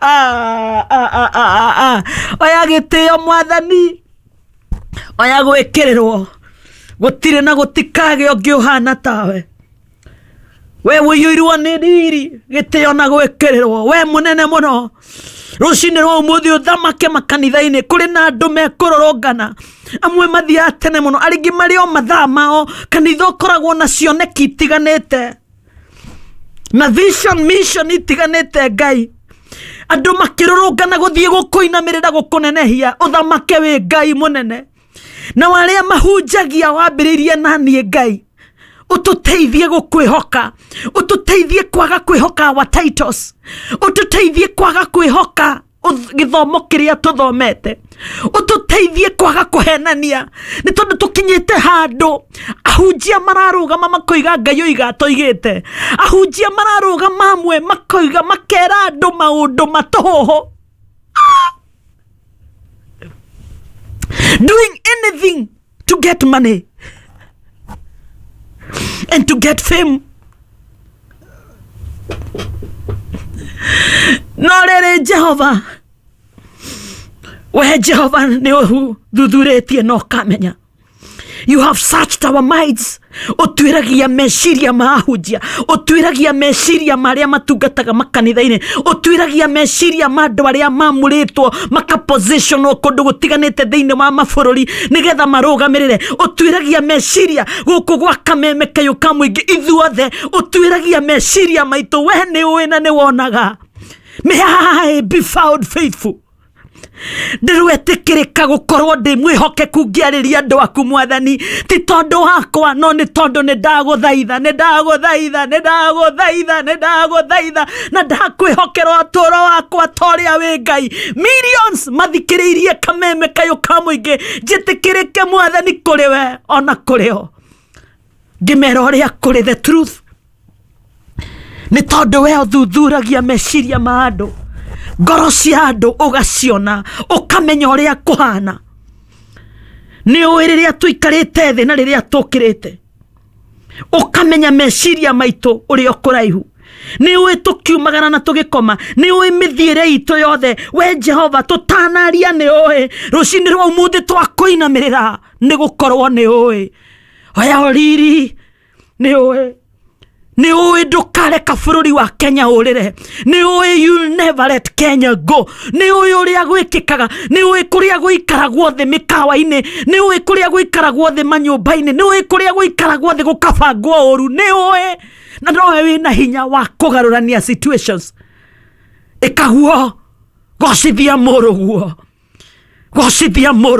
Ah, ah, ah, ah, ah. Oya gĩtĩo mwathani, oya gwĩkĩrĩrwo, gũtirĩ na gũtikagĩa ũngĩ ũhana tawe. We ũiyũirwo nĩ riri, gĩtĩo na gwĩkĩrĩrwo, we mũnene mũno. Rũcinĩ rwa ũmũthĩ ũthamake makanitha-inĩ, kũrĩ na andũ mekũrũrũngana, amwe mathiaga tene mũno, arĩa marĩ o mathaa mao. Kanitha ũkoragwo na cioneki itiganĩte na vision mission itiganĩte. Ngai, andũ makĩrũrũngana gũthiĩ gũkũinamĩrĩra, gũkũnenehia, ũthamake wĩ Ngai mũnene. Na arĩa mahunjagia wambĩrĩirie na niĩ, Ngai, ũtũteithie gũkwĩhoka, ũtũteithie kwaga kwĩhoka our titles, ũtũteithie kwaga kwĩhoka gĩthomo kĩrĩa tũthomete, ũtũteithie kwaga kũhenania, nĩ tondũ tũkinyĩte handũ ahunjia mararũgama makoiga Ngai oiga toigĩte, ahunjia mararũgama amwe makoiga makera andũ maũndũ matũhũhũ, doing anything to get money and to get fame. No rĩrĩ, Jehova, we Jehova nĩ ũthuthurĩtie na ũkamenya. You have searched our minds. Ũtuĩragia meciria ma ahunjia, ũtuĩragia meciria ma arĩa matungataga makanitha-inĩ, ũtuĩragia meciria ma andũ arĩa mamũrĩtwo makapositionwo kũndũ gũtiganĩte thĩinĩ wa mabũrũri nĩgetha marũgamĩrĩre, ũtuĩragia meciria gũkũ gwa Kameme Kayũ ka Mũingĩ, ithuothe ũtuĩragia meciria maitũ. We nĩ ũĩ na nĩ wonaga. May I be found faithful. Ndĩrwetĩkĩrĩka gũkorwo ndĩ mwĩhokeku ngĩarĩria andũ aku, mwathani, ti tondũ wakwa, no nĩ tondũ nĩ ndagũthaitha, nĩ ndagũthaitha, nĩ ndagũthaitha, nĩ ndagũthaitha na ndakwĩhokera ũtũũro wakwa ta ũrĩa wĩ Ngai. Millions mathikĩrĩirie Kameme Kayũ ka Mũingĩ, njĩtĩkĩrĩke, mwathani, kũrĩ we ona kũrĩ o, ngĩmera ũrĩa kũrĩ, the truth, nĩ tondũ we ũthuthuragia meciria ma andũ, ngoro cia andũ ũgaciona, ũkamenya ũrĩa kũhana. Nĩ ũĩ rĩrĩa tũikarĩte thĩ na rĩrĩa tũkĩrĩte, ũkamenya meciria maitũ ũrĩa ũkũraihu. Nĩ ũĩ tũkiumagara na tũgĩkoma, nĩ ũĩ mĩthiĩre itũ yothe. We Jehova, tũtanaria nĩ ũĩ. Rũcinĩ rwa ũmũthĩ twakũinamĩrĩra nĩ gũkorwo nĩ ũĩ. Oya ũriri, nĩ ũĩ, nĩ ũĩ ndũkareka bũrũri wa Kenya ũrĩre, nĩ ũĩ you'll never let Kenya go. Nĩ ũĩ ũrĩa gwĩkĩkaga, nĩ ũĩ kũrĩa gũikaragwo thĩ mĩkawa-inĩ, nĩ ũĩ kũrĩa gũikaragwo thĩ manyũmba-inĩ, nĩ ũĩ kũrĩa gũikaragwo thĩ gũkabangwo ũru. Nĩ ũĩ na nowe wĩna hinya wa kũgarũrania situations. Ĩkaguo, gocithia mũrũguo, gocithia mũrũ.